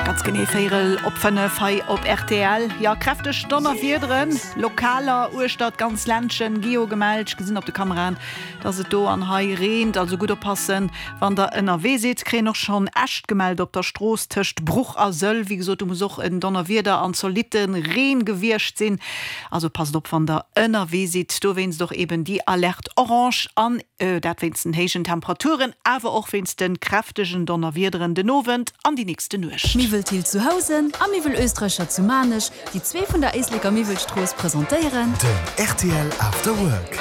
Ganz genee véierel op 5 hei op rtl. Jo, kräfteg Donnerwiederen, Lokaler uechter d'ganz Ländchen gi jo gemellt. Ech gesinn op de Kameraen, dass et do an hei reent, also gutt oppassen, wann der ënnerwee sidd. Kréien och schonn Äscht gemellt op der Strooss tëscht Bruch a Sëll. Wéi gesot, do muss och en Donnerwieder an zolitte Reen gewiescht sinn. Also passt op, wann der ënnerwee sidd. Dowéinst och eben déi Alerte orange an dat wéinst den héijen Temperaturen, awer och wéinst de kräftegen Donnerwiederen den Owend an déi nächste Nuecht. Miwwel Thill zu Housen a Miwwel Oestreicher zu Maarnech, déi zwee vun der Éisleker Miwwelstrooss presentéieren. Den rtl After Work.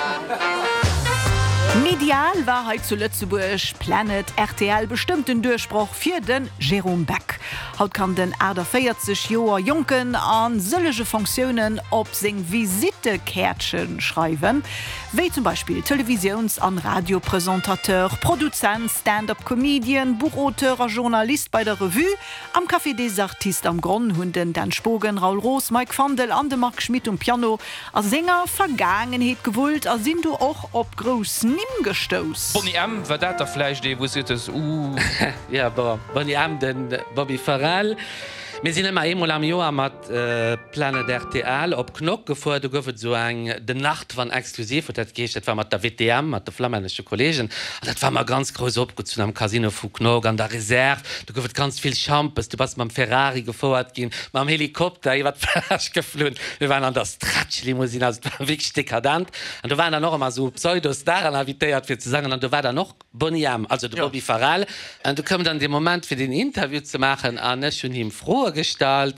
Medial war hei zu Lëtzebuerg Planet rtl bestëmmt den Duerchbroch fir de Jérôme Beck. Haut kann den 48 Joer Jonken a sëllege Fonctiounen op seng Visittekäertche schreiwen, wéi zum Beispill Televisiouns an Radiopresentateur, Produzent, Stand-up Comedian, Buchauteur a Journalist bei der Revue. Am Café des Artistes am Gronn hunn den Dan Spogen, Raoul Roos, Mike Fandel an de Marc Schmitt um Piano a senger Vergaangenheet gewullt a sinn do och op grouss Nimm gestouss. Boney M, war dat da vläicht ee wou s de gesot hues, Ooh. Jo, bon, Boney M, de Bobby Farrell. Mir sinn ëmmer eemol am Joer mat Planet rtl op Knock gefuer. Do gouf et esou eng De Nacht van Exklusiv huet dat geheescht. Dat war mat der WTM, mat de flammännesche Kolleegen. An dat war ëmmer ganz grouss opgezunn am Casino vu Knock an der Reserve. Do gouf et ganz vill Schampes. Du bass mam Ferrari gefouert ginn, mam Helikopter iwwer d'Plage geflunn. Mir waren an der Stretch-Limousine. Also et war wierklech dekadent. An do waren dann och ëmmer esou Pseudo-Staren invitéiert fir ze sangen. An do war dann och Boney M, also de Bobby Farrell. An du koum dann dee Moment fir den Interview ze maachen an ech hunn him Froe gestallt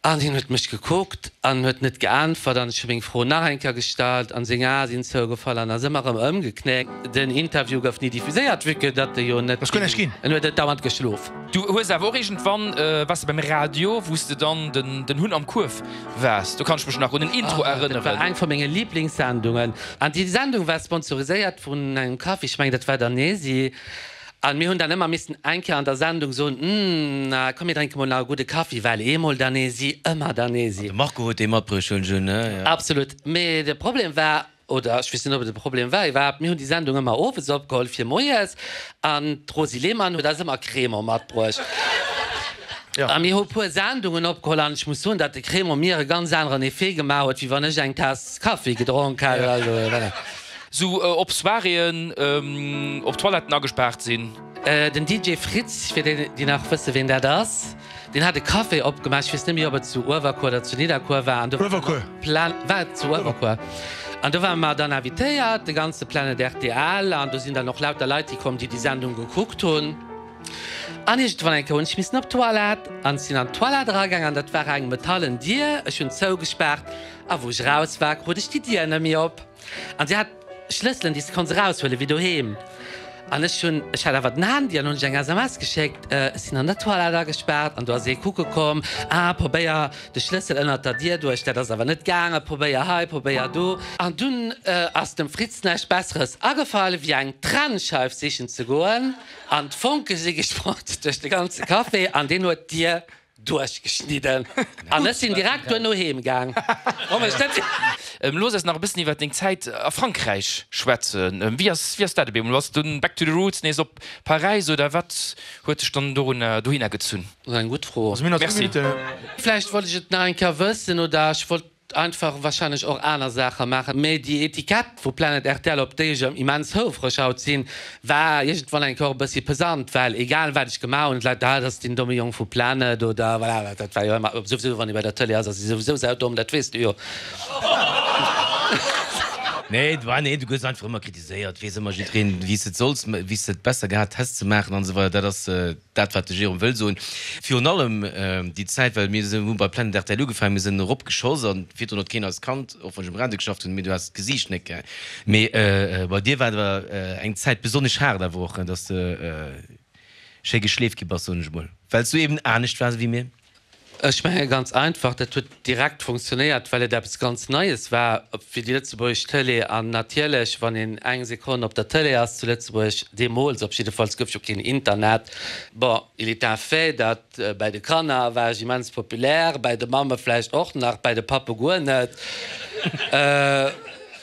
an hien huet mech gekuckt an huet net geäntwert an ech hu meng Fro nach eng Kéier gestallt an seng Ae sinn zougefall an ass ëmmer erëm ëmgeknéckt. Den Interview gouf ni diffuséiert, vue que datt e jo net, en huet et dauernd geschlof. Du hues awer och iergendwann, waars de beim Radio, wou s de dann den Hunn am Kuerf waars. Do kann ech mech nach un den Intro erënneren. Dat war eng vu menge Liblingssendungen. An déi Sendung war sponsoriséiert vun engem Kaffi, ech mengen dat war Danesi. An mir hunn dann ëmmer missen eng Kéier an der Sendung soen, Mmh, na komm mir drénke mol nach e gudde Kaffi, well eemol Danesi, ëmmer Danesi. An de Marco huet dee matbruecht, hunn ech un, ne? Jo. Absolut. Mee de Problem war, oder ech weess net, ob et e Problem war iwwerhaapt, mir hunn déi Sendung ëmmer owes opgeholl fir moies an d'Rosy Lehmann huet eis ëmmer Crémant matbruecht. A mir hu puer Sendungen opgeholl an ech muss soen, datt de Crémant mir e ganz aneren Effet gemaach huet, wéi wann ech eng Taass Kaffi gedronk hätt. Also voilà. Sou op Soiréeën op Toiletten agespaart sinn. Den DJ Fritz, fir déi, déi nach wësse ween dat ass, deen hat e Café opgemaach, ech weess net méi ob et zu Uewerkuer oder zu Nidderkuer war, an do war Uewerkuer. Plan, war et zu Uewerkuer? An do ware mer dann invitéiert, de ganze Planet rtl, an do sinn dann och lauter Leit hikomm, déi déi Sendung gekuckt hunn. An iergendwann eng Kéier hunn ech missen op d'Toilette, an ech sinn an d'Toilette eragaang, an dat war eng metallen Dier, ech hunn zougespaart, a wou ech eraus war, krut ech déi Dier net méi op. An si hat Schlësselen, déi s de konns eraushuelen, wéi doheem. An ech hunn, ech hat awer den Handy an hunn ech eng SMS geschéckt, Ech sinn an der Toilette agespaart an do ass ee kucke komm, ah, probéier de Schlëssel ënnert der Dier duerch, dat ass awer net gaangen, probéier hei, probéier do. An dunn ass dem Fritz näischt Besseres agefall, wéi eng Trennscheif sichen ze goen an d'Fonke si gesprongt duerch de ganze Café an deen huet d'Dier Duerchgeschnidden an ech sinn direkt duerno heem gaang. Looss eis nach e bëssen iwwer deng Zäit a Frankräich schwätzen. Wéi ass, wéi ass dat op eemol? Bass du dunn back to the roots, nees op Paräis oder wat huet dech dann dorunner, dohinner gezunn? Dat ass eng gutt Fro. Merci. Vläicht wollt ech et nach eng Kéier wëssen oder ech wollt Einfach wahrscheinlech och aner Saache maachen. Mee déi Etikett vu Planet rtl, op déi ech immens houfreg haut sinn, war iergendwann eng Kéier och e bëssi pesant, well egal wat ech gemaach hunn, d'Leit, ah, dat ass deen domme Jong vu Planet oder voilà, dat war jo ëmmer, souwisou wann ee bei der Tëlee ass, ass ee souwisou saudomm, dat weess de jo. Nee, bah nee, du gëss einfach ëmmer kritiséiert, weess ëmmer jiddwereen, wéi s de et solls, wéi s de et besser gehat häss ze maachen an esou weider. Dat ass. Dat wat de Jérôme wëll soen, virun allem déi Zäit, well mir hu bei Planet rtl ugefaangen, mir sinn eropgeschoss an virdrun huet keen eis kannt, och wann ech um Radio geschafft hunn, mee du has d'Gesiicht net ge. Mee bei dir war et awer eng Zäit besonnesch haart awer och, dass de schéi geschleeft gi bass, soen ech emol, well s du eben anescht waars ewéi mir. Ech menge ganz einfach, dat huet direkt funktionéiert, well et eppes ganz Neies war fir déi lëtzebuergesch Tëlee. An natierlech, wann een eng Sekonn op der Tëlee ass zu Lëtzebuerg, deemools op jiddefalls gouf jo keen Internet, bon, il est un fait, datt bäi de Kanner war ech immens populär, bäi de Mamme vläicht och nach, bäi de Pappe guer net,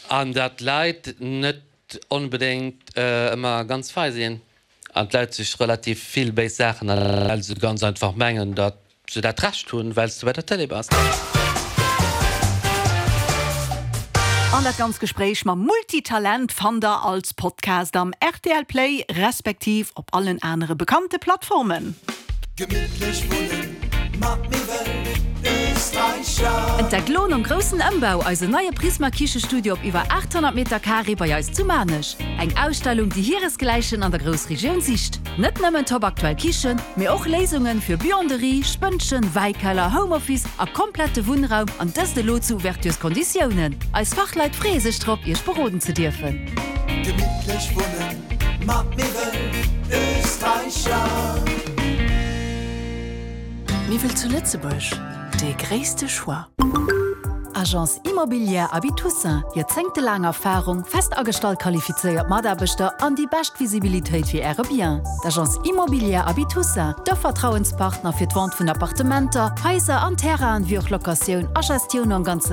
an datt d'Leit net onbedéngt ëmmer ganz fei sinn. An d'Leit sech relativ vill béis Saachen erlaben, well se ganz einfach mengen, datt se dat Recht hunn, well s de bei der Tëlee bass. An dat ganz Gespréich mam Multitalent fannt der als Podcast am rtl Play respektiv op allen anere bekannte Plattformen. Gemittlech wunnen mat Miwwel Österreicher. Entdeckt lo nom groussen Ëmbau eisen neie Prisma Kichestudio op iwwer 800 Meter Carré bei eis zu Maarnech. Eng Ausstellung déi hiresgläichen an der Groussregioun sicht. Net nëmmen top aktuell Kichen, mee och Léisungen fir Buanderie, Spënnchen, Wäikeller, Home Office a komplette Wunnraum an dëst elo zu Ouvertureskonditiounen. Eis Fachleit freeë sech drop iech beroden ze dierfen. Gemittlech wunnen mat Miwwel Österreicher. Miwwel zu Lëtzebuerg, dee gréisste Choix. Agence Immobilière Aby Toussaint, joerzéngtelaang Erfarung, fest agestallt qualifizéiert Mataarbechter an déi bescht Visibilitéit fir Äre Bien. D'Agence Immobilière Aby Toussaint, de Vertrauenspartner fir d'Vente vun Appartementer, Haiser an Terrainen, wéi och Locatioun a Gestioun am ganze.